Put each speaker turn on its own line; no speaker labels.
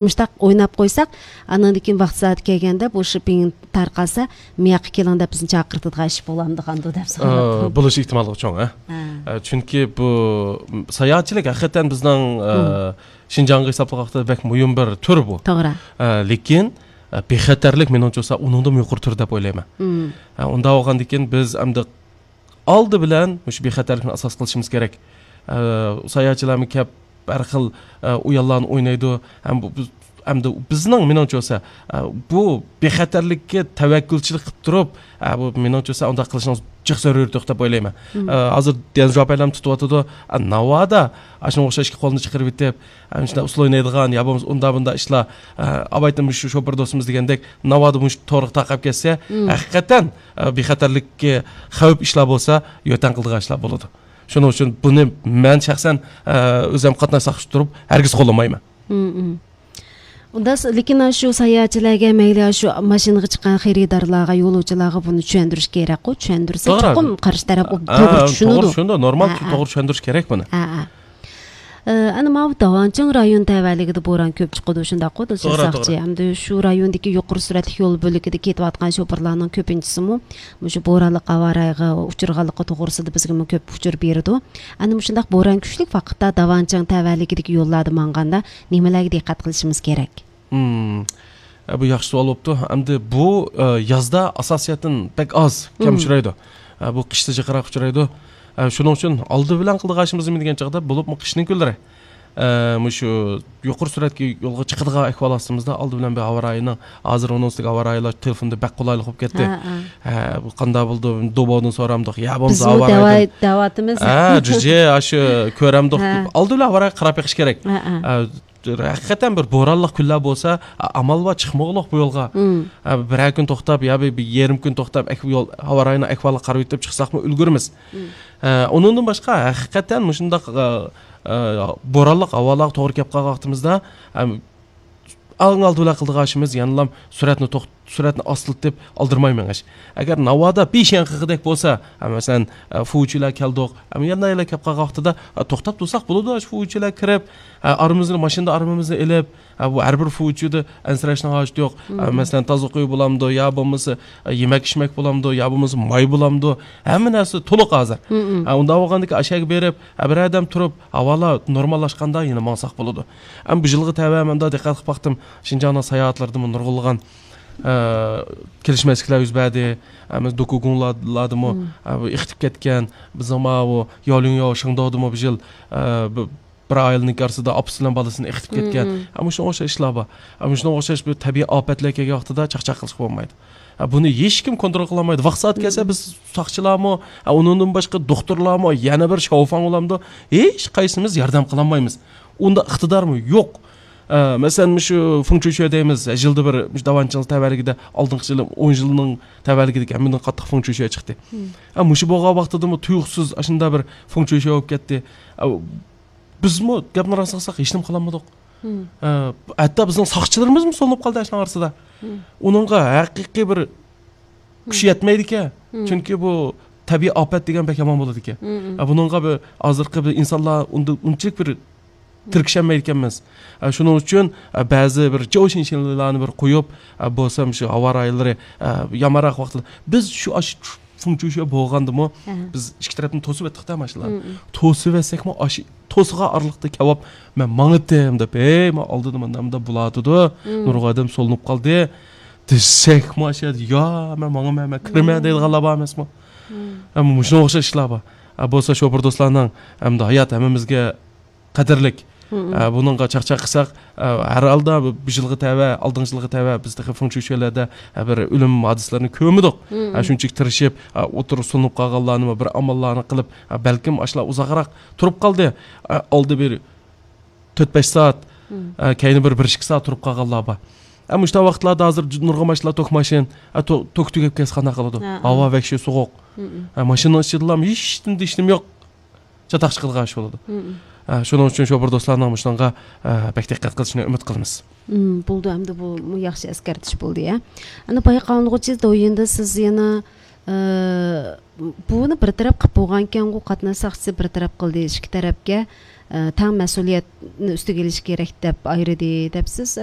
муштак ойнап койсак, анан кийин вакыт саат келгенде бул шипиң таркалса, мияк келгенде биздин чакыртыдга иш боламды кандуу деп сурап.
Бул иш ыктымалдыгы чоң, Чүнки бу саятчылык акыйкатан биздин Шинжаңга эсаптаганда бек муйым бир түр бу.
Туура.
Лекин бехатерлик мен ончоса унунда юкары түр деп ойлойм. Унда болгондон кийин биз амды алды билен ушу бехатерликти асас кылышыбыз керек. Саятчылар кеп ар кыл уялларын ойнойду. Амды биздин менчоса бу бехатерликке таваккулчулук кылып туруп, бу менчоса анда кылышыңыз жакшы өрүрдүк деп ойлойм. Азыр ден жооп айлам тутуп атыды. Навада ашын окшош колунду чакырып деп, ушундай усул ойнойдуган, я болбосо унда бунда ишла абайтым ушу шопур досумуз дегендек, навада муш торг такап келсе, акыйкатан бехатерликке хавп ишла болса, йотан кылдыган ишла болот. Шуның үчүн буну мен шахсан өзүм катнашсак туруп, аргыз колдомойм.
Унда лекин ашу саятчыларга мейли ашу машинага чыккан херидарларга, yo'lovchilarga буну түшөндүрүш керек го, түшөндүрсө чокум каршы тарап туура түшүнөдү.
Ошондо нормал туура түшөндүрүш керек буну.
Аны мабы Даванчың район табалыгыда боран көп чыкты ушундай го, сакчы. Амды ушу райондагы юкары сүрөтлүк жол бөлүгүдө кетип аткан шопурлардын көпүнчүсү ушу бооралык аба ырайга учурганлыгы тогурусунда бизге көп учур берди. Аны ушундай боран күчлүк вакытта Даванчың табалыгыдагы жолдарды манганда немелерге диккат кылышыбыз керек?
Бу жакшы суал болупту. Амды бу язда ассоциациятын бек аз кем учурайды. Бу кышта жакыраак учурайды. Шуның үчүн алды билен кылдыгашыбыз деген жагда болуп кыштын күнлөрү. Мушу юкары сүрөткө жолго чыкырга акыбаласыбызда алды билен бе аба ырайынын азыр онусук аба ырайлар телефондо бек колайлык болуп кетти. Бу кандай болду? Дободун сорамдык. Я болмосо аба ырайы.
Даватымыз.
Жүже ашы көрөмдүк. Алды билен аба ырай карап бекиш керек. Акыйкатан бир бооралык күнлөр болсо, амалба чыкмоголук бу жолго. Бир күн токтоп, я бир ярым күн токтоп, аба ырайына акыбалык карап өтүп чыксакмы үлгүрмүз. Онундан башка акыйкатан мушундак бооралык абалар туура кеп калган вактымызда алды билен кылдыгашыбыз янылам сүрөтүн астылт деп алдырмайм аш. Агар навада бишен кыгыдек болса, маселен фуучулар келдик, янда эле кеп калган вактыда токтоп турсак болду, аш фуучулар кирип, арымызды машинада арымызды элеп, бу ар бир фуучуду ансырашына аш жок. Маселен таза кой боламды, я болмосо емек ишмек боламды, я болмосо май боламды. Hamma narsa толук азыр. Унда болгондо ашаga берип, бир адам туруп, абала нормалашканда эне мансак болду. Бу жылгы табамында диккат кылып бактым, Шинжаңда саяатларды нургулган келишместиктер үзбәди, докугунладымы, ихтип кеткен, биз ама ялың шыңдадымы бу жыл bir айылдын арасында апсылан баласын ихтип кеткен. Ушуга окшош ишлар бар. Ушуга окшош бир табий апатлар келген вактыда чакчак кылыш болбойт. Буну эч ким контрол кыла алмайт. Вакыт саат келсе биз сакчылармы, онундан башка докторлармы, яна бир шауфан уламды, эч кайсыбыз жардам кыла алмайбыз. Унда ыктыдармы? Жок. Mesela şu funkçu deyimiz жылды bir Даванчың табалыгыда алдыңкы жылы 10 жылдын табалыгыда мындан каттык funkçu чыкты. Мушу болгон вактыда туюксуз ашында бир funkçu болуп кетти. Бизми гапны расаксак эч нем кыла алмадык. Атта биздин сакчыларыбызмы солуп калды ашына арасында. Унунга акыйкый бир күч жетмейди экен. Чүнки бу табий апат деген бек яман болот экен. Бунунга бир азыркы бир инсанлар унчалык бир тиркшенмейт экенбиз. Шуның үчүн баазы бир жошинчилерни бир коюп, болсом шу аба ырайлары ямараак вакытта биз шу функчу болгондуму биз ички тараптан тосуп аттык да машиналар. Тосуп этсекми тосуга арлыкты кебап мен маңытым деп, мен алдыда мында булатыды, нургадым солунуп калды. Десек машина, я мен маңым кирме дейт галаба эмесми? Мушуга окшош ишлар бар. Болсо шопур досторунун аят эмемизге кадырлык. Bununla çakçak kısak, her alda bir жылғы тәвә, алдың жылғы тәвә біздегі функчүшелерде bir ölüm hadislerini kömüdük. Şunçuk tırışıp, oturup sunup қалғанларını, bir amallarını qılıp, belkim aşıla uzaqarak turup qaldı. Aldı bir 4-5 saat, kayını bir 1-2 saat turup qalğanlar var. Ama işte vaqtlarda hazır nurga maşınlar tok maşin, tok tügep kesqana qalады. Hava vekşi soğuk. Maşının ışıdılam, hiçbir işim yok. Çataq çıqılğa iş oladı. Şunun üçün şopur dostlarına muşlanğa bek diqqat qilishini ümit qilamiz.
Buldu, hamda bu yaxshi eskartish bo'ldi ya. Ana bayqalanğıcı doyunda siz yana буну бир тарап кылып болгон экен го, катнаш сакчысы бир тарап кылды, ички тарапка таң маселиятны үстүгө элиш керек деп айрыды депсиз.